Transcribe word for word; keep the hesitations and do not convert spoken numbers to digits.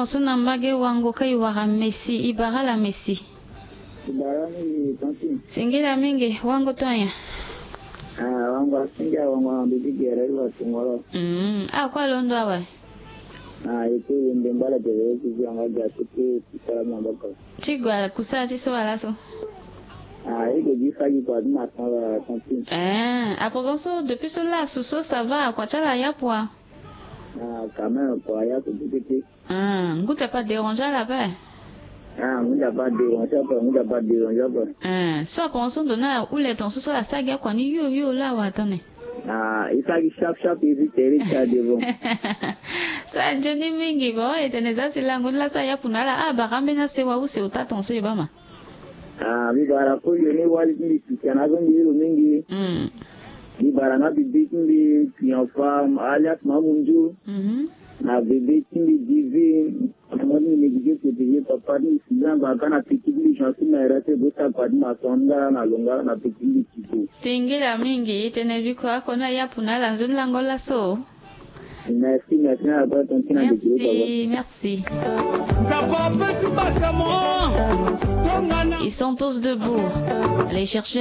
So na mbage wango ka i wara Messi, i bara ala Messi. I bara mingi, tantine. Singila mingi, wango to anya? Ah, wango asinga, wango na bibi gere, i wa tungolo. Mm, a kue alondo awe. Ah, e te wende mbala gere, e ti zi anga ga, ti ti ti sala maboko. Ti gue kusala ti so ala so. Ah, e ke gi fagi kua ti maçon, tantine. Eh, à présent so, depuis so laso so, ça va, kua ti ala ayapu wa? Ah, quand même, kua ayapu ti ti ti. Ah, ngu ta pa déranger ala ape? Ah, ngu ta pa déranger ape, ngu ta pa déranger ape. Eh, so à présent so ndo na ule ton so, so ala sara gi akua ni yo yo la wa tene? Ah, e sara gi sharp sharp, e zi tere ti ala devant. So anzoni mingi, bon, e tene za si lango ni laso ayapu na ala, ah, bara ambeni asewa use ota ton so e baa ma. Ah, mbi bara koli yo ni wali ti mbi Christiana so mbi ye lo mingi. Mm. Mbi bara nga bebe ti mbi Triompha, alias Mamunzu. Mhm. Na bebe ti mbi Divine. Mama ti mbi négligé protéger papa ti mbi Sylvain Baka, na petit ti mbi Jean-Philippe na R F E Bosa, kua ti maçon nga na lo nga na petit ti mbi Tito. Singila mingi, e tene biko ako ni ayapu na ala nzoni lango laso. Merci, merci, na la bonne tantine de Dieu, merci, merci. Ils sont tous debout. Allez chercher